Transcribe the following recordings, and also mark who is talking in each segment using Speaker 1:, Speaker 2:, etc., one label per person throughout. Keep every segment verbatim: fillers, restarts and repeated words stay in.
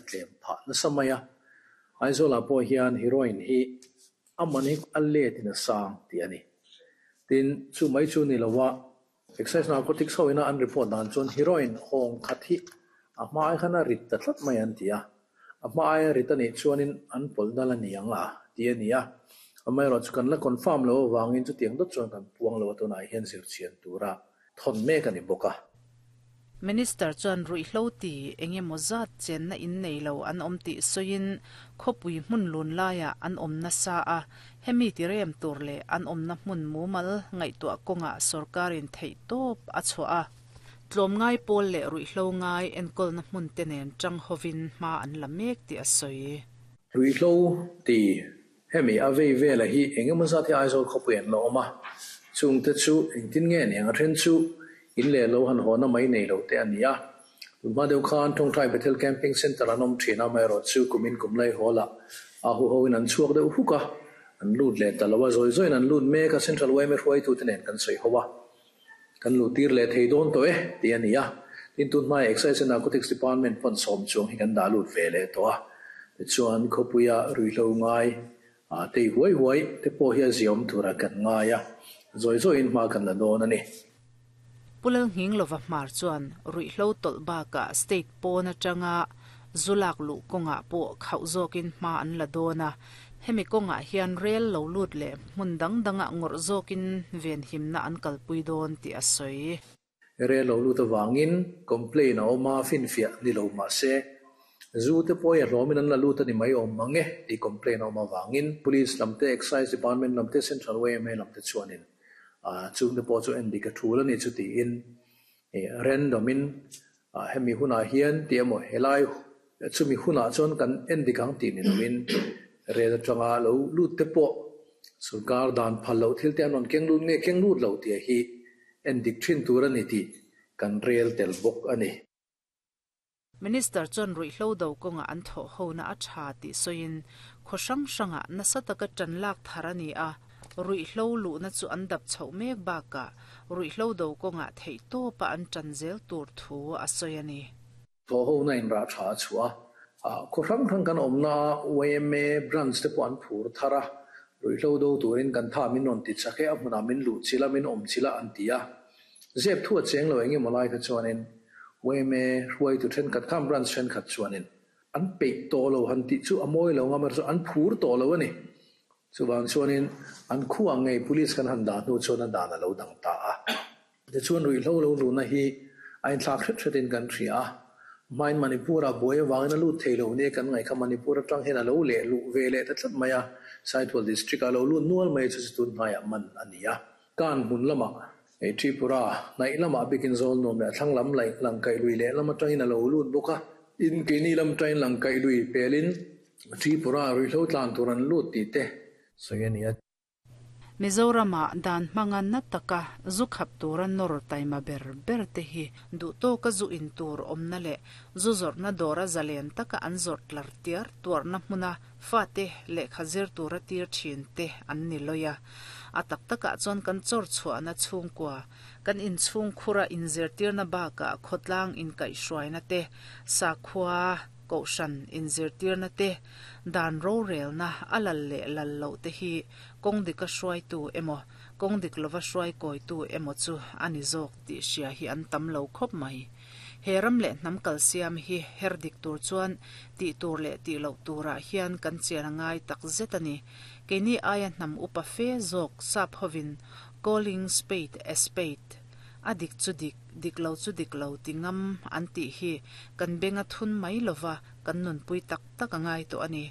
Speaker 1: tlem phah nasa mai a. Aizawlah pawh hian heroin hi a man hi a letin a sang tih a ni. Tin, chu mai chu ni loa Excise Narcotics hoina an report dan chuan heroin hawng khat hi a hma ai khan a rit ta tlat mai an ti a. A hma ai a rit anih chuanin an pawlh dal a ni ang a tih a ni a. Amaherawhchu chu kan la confirm lo avangin chutiang dawt chuan kan puang lo a tunah hian zirchhian tura thawn mek a ni bawk a.
Speaker 2: Minister chuan ruihhlo ti engemaw zat chenna in nei lo an awm tih sawiin khawpui hmun lun laiah an awm nasa a, hemi ti rem tur leh an awmna hmun mumal ngaihtuah kawngah sorkarin theih tawp a chhuah a. Tlawmngai pawl leh ruihhlo ngai enkawlna hmun te nen tang hovin hma an la mek tih a sawi.
Speaker 1: Ruihhlo ti hemi a vei vela hi engemaw zat hi Aizawl khawpui an la awm a, chungte chu engtin nge ni ang a then chu in leh lo han haw na mai nei lo te a ni a. Tunhma deuh khan Tawngtai Bethel Camping Centre an awm thin a, amaherawhchu kumin kum lai haw lah a hu hoin an chhuak deuh huk a, an lut leh ta lo a, zawi zawiin an lut mek a, Central Y M A hruaitute nen kan sawi ho a, kan lut tir leh thei dawn tawh e tih a ni a. Tin, tunhmaia Excise and Narcotics Department pawn sawm chuang hi kan dah lut ve leh tawh a. Tichuan khawpuia ruihhlo ngai a tei huai huai te pawh hi a ziawm tura kan ngai a, zawi zawiin hma kan la dawn a ni.
Speaker 2: Pulal nghing lova hmar chuan ruihhlo tawlh bakah state pawn atanga zulak luh kawngah pawh khauh zawkin hma an la dawn a. Hemi kawngah hian rel lo lut leh hmun dang dangah ngawrh zawkin ven himna an kalpui dawn tih a sawi.
Speaker 1: Rel lo lut awangin complain a awm a, finfiah ni lo mah se zu te pawh hi a hlawmin an la lut a ni mai awm mang e tih complain a awm avangin Police lam te, Excise Department lam te, Central Y M A lam te chuanin chung te pawh chu en dik a thul a ni chu tiin random in hemi hunah hian tih emaw helai chumi hunah chuan kan en dik ang tih ni loin rel atanga lo lut te pawh sarkar dan phal loh thil te an rawn keng lut nge keng lut lo tih hi en dik thin tur a ni tih kan rel tel bawk a ni.
Speaker 2: Minister chuan ruihhlo do kawnga an thawh hona a tha tih sawiin khaw hrang hrangah nasa taka tan lak thar a ni a. Ruihhlo luhna chu an dap chhoh mek bakah ruihhlo do kawngah theih tawpa an tan zel tur thu a sawi a ni.
Speaker 1: Thawh hona in rah tha a chhuah a, khaw hrang hrang kan awmna Y M A branch te pawh an phur thar a, ruihhlo do turin kan tha min rawn ti chak e, a hmunah min luh chila min awm chila an ti a. Zep thu a cheng lo engemaw lai kha chuanin Y M A hruai tu thenkhat khan branch thenkhat chuanin an peih tawh lo han tih chu a mawi lo nga mar chu an phur tawh lo a ni. Chuwang chuanin an khuang ngei police kan han dah hnu chuan an dan a lo dang ta a. Tichuan ruihhlo lo luna hi a inthlak hret hretin kan hria a. Hmain Manipur a buai awangin a lut thei lo ni kan ngaih kha Manipur atang hian a lo leh luh ve leh ta tlat mai a. Saitual district a lo lut nual mai chu chu tun hnaiah man a ni a. Kan hmun lamah ei Tripura hnaih lamah bikin zawl nuam leh a thlang lam laih langkaih lui leh lam atangin a lo lut bawk a. In keini lam atangin langkaih lui pelin Tripura ruihhlo tlan tur an lut tih te sawi a ni a.
Speaker 2: Mizorama dan hmanga na taka zu khap tura nawr taima ber ber te hi duh tawka zu in tur awmna leh zu zawrhna dawra zalen taka an zawrh tlar tiar tuarna hmuna fa te lehkha zir tura tir thin te an ni lawi a. A tak takah chuan kan chawr chhuahna chhungkua kan inchhung khura inzirtirna bakah khawtlang inkaihhruaina te sakhua kohhran inzirtirna te dan ro relna a lal leh lal loh te hi kawng dika hruai tu emaw kawng dik lova hruai kawi tu emaw chu a ni zawk tih hria hi an tam lo khawp mai. He ram leh hnam kal siam hi her dik tur chuan tih tur leh tih loh turah hian kan chian a ngai tak zet a ni. Keini aia hnam upa fe zawk sap hovin calling spade a spade a dik chu dik dik lo chu dik lo ti ngam an tih hi kan benga thun mai lova kan nunpui tak tak a ngai tawh a ni.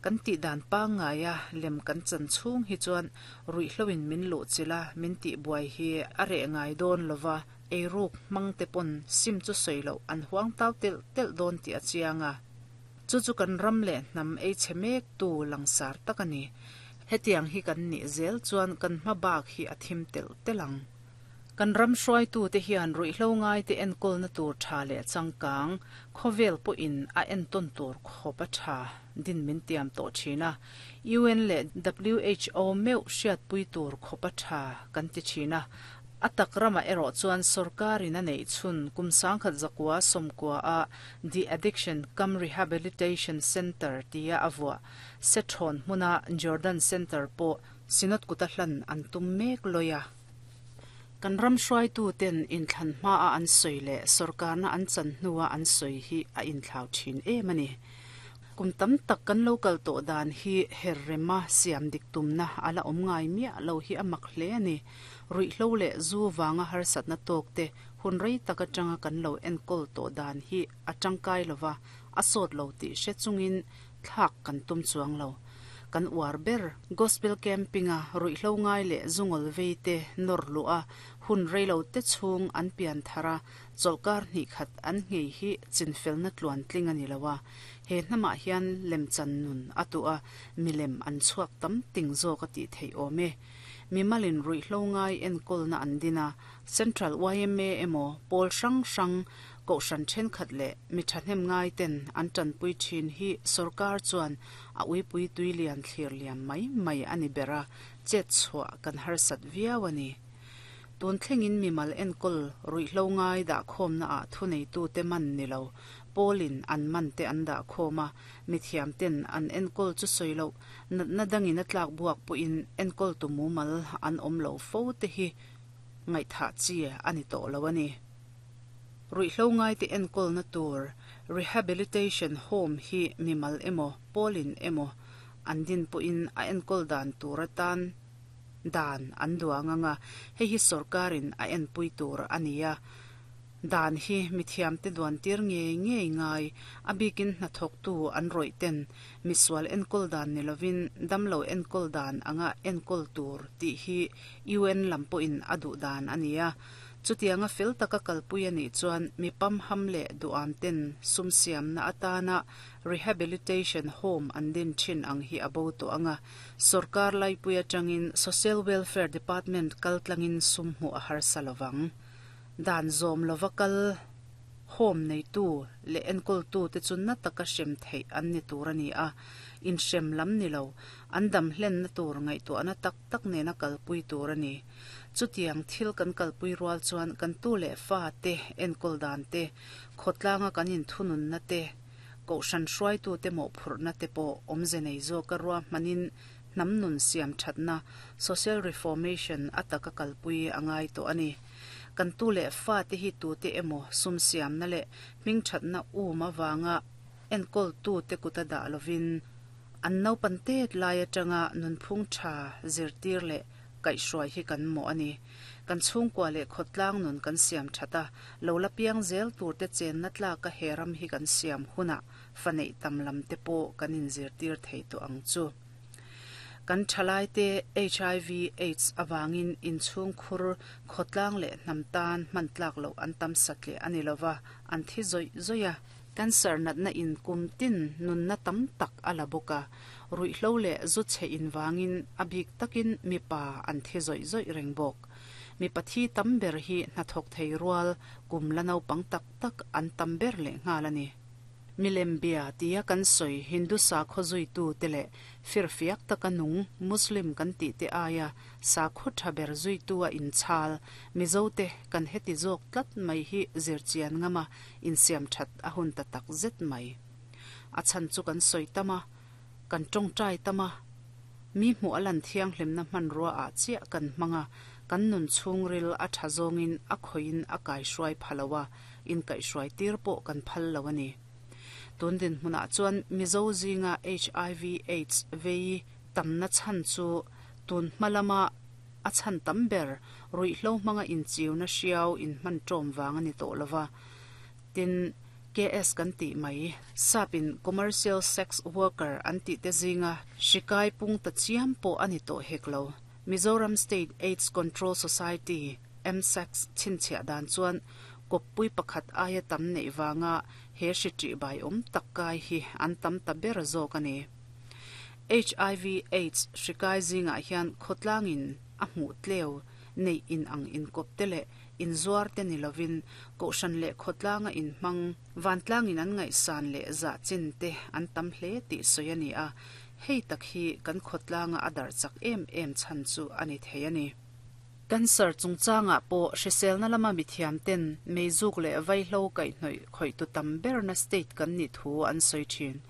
Speaker 2: Kan tih dan pa ngaia lem kan chan chhung hi chuan ruihhloin min luh chila min tih buai hi a reh ngai dawn lova ei ruk hmang te pawn sim chu sawi loh an huang tau tel tel dawn tih a chiang a. Chu chu kan ram leh hnam ei chhe mek tu langsar tak a ni. Hetiang hi kan nih zel chuan kan hma bak hi a thim tel tel ang. Kan ram hruai tu te hian ruihhlo ngai te enkawlna tur tha leh changkang khawvel pawhin a entawn tur khawp a tha din min tiam tawh thin a. U N leh W H O meuh hriatpui tur khawp a tha kan ti thin a. A tak ramah erawh chuan sorkarin a neih chhun kum sangkhat zakua sawmkua a The Addiction Cum Rehabilitation Centre tia a vuah Sethawn hmuna Jordan Centre pawh Synod kuta hlan an tum mek lawi a. Kan ram hruaitu ten inthlan hmaa an sawi leh sorkarna an chan hnua an sawi hi a inthlau thin em a ni. Kum tam tak kan lo kal tawh dan hi her rema siam dik tumna a la awm ngai miah lo hi a mak hle a ni. Ruihhlo leh zu vanga harsatna tawk te hun rei tak atanga kan lo enkawl tawh dan hi a tangkai lova a sawt lo tih hre chungin thlak kan tum chuang lo. Kan uar ber gospel camping a ruihhlo ngai leh zungawlh vei te nawr luh a hun rei lo te chhung an pian thar a chawlhkar hnih khat an nghei hi chinfelna tluan tling a ni lo a. He hnamah hian lemchan nun a tuh a milem an chhuak tam ting zawk a tih theih awm e. Mimalin ruihhlo ngai enkawlna an din a Central Y M A emaw pawl hrang hrang kohhran thenkhat leh mi thahnem ngai ten an tanpui thin hi sorkar chuan a uipui tui lian thlir liam mai mai a ni ber a chet chhuah kan harsat viau a ni. Tun thlengin mimal enkawl ruihhlo ngai dah khawmna ah thuneitu te man ni lo pawlin an man te an dah khawm a mithiam ten an enkawl chu sawi loh natna dangin a tlak buak pawhin enkawl tu mumal an awm lo fo te hi ngaihthah chi a ni tawh lo a ni. Ruihhlo ngai te enkawlna tur rehabilitation home hi mimal emaw pawlin emaw an din pawhin a enkawl dan tur atan dan an duang anga hei hi sorkarin a enpui tur a ni a. Dan hi mithiam te duan tir ngei ngei ngai a bikin hnathawktu an rawih ten misual enkawl dan ni lovin damlo enkawl dan anga enkawl tur tih hi U N lam pawhin a duh dan a ni a. Chutianga fel taka kalpui a nih chuan mi pamham leh duam ten sum siamna atana rehabilitation home an din thin ang hi a bo tawh anga sorkar laipui atangin Social Welfare Department kaltlangin sum hmuh a harsa lovang. Dan zawm lova kal home neitu leh enkawltu te chu na taka hrem theih an ni tur a ni a. In hrem lam ni lo an dam hlenna tur ngaihtuahna tak tak nena kalpui tur a ni. Chutiang thil kan kalpui rual chuan kan tu leh fa te enkawl dan te khawtlanga kan inthununna te kohhran hruaitu te mawhphurhna te pawh awmze nei zawk a ruahmanin hnam nun siam thatna social reformation a taka kalpui a ngai tawh a ni. Kan tu leh fa te hi tu te emaw sum siamna leh hming thatna um awanga enkawl tu te kuta dah lovin an naupan tet lai atanga nunphung tha zirtir leh kaihhruai hi kan mawh a ni. Kan chhungkua leh khawtlang nun kan siam thata lo la piang zel tur te chenna tlaka he ram hi kan siam huna fa neih tam lam te pawh kan inzirtir thei tawh ang chu. Kan thalai te H I V AIDS awangin inchhung khur khawtlang leh hnam tan hman tlak loh an tam satle a ni lova an thi zawih zawih a. Cancer natna in kum tin nunna tam tak a la bawk a. Ruihhlo leh zu chhe in wangin a bik takin mipa an thi zawih zawih reng bawk. Mi pathi tam ber hi hnathawk thei rual kum la naupang tak tak an tam ber leh nghal a ni. Milem bia tia kan sawi Hindu sakhaw zuitu te leh firfiak taka nung Muslim kan tih te aia sakhaw tha ber zuitu a inchhal Mizo te kan heti zawk tlat mai hi zirchian ngama insiam that a hun ta tak zet mai. A chan chu kan sawi tama kan tawngtai tama mi hmuh a lan thianghlimna hmanrua ah chiah kan hmanga kan nun chhungril a tha zawngin a khoin a kaihruai phaloa in kaihruai tir pawh kan phal lo a ni. Tun din hmunah chuan Mizo zinga H I V AIDS vei tamna chan chu tun hmalama a chan tam ber ruihhlo hmanga inchiuna hriau in hman tawm wang ani tawh lova. Tin K S kan tih mai sapin commercial sex worker an tih te zinga hrikai pung ta chiam pawh ani tawh hek lo. Mizoram State AIDS Control Society M S A C chhinchhiah dan chuan kawppui pakhat aia tam neih wanga he hri ṭih bai awm tak kai hi an tam ta ber zawk a ni. H I V AIDS hrikai zingah hian khawtlangin a hmuh tleu neih in ang inkawp te leh inzuar te ni lovin kohhran leh khawtlanga in hmang vantlangin an ngaihsan leh zah chin te an tam hle tih sawi a ni a. Hei tak hi kan khawtlanga a darh chak em em chhan chu a ni thei a ni. Cancer chungchangah pawh hriselna lama mithiam ten meizuk leh vaihlo kaihhnawih khawih tu tam berna state kan ni thu an sawi thin.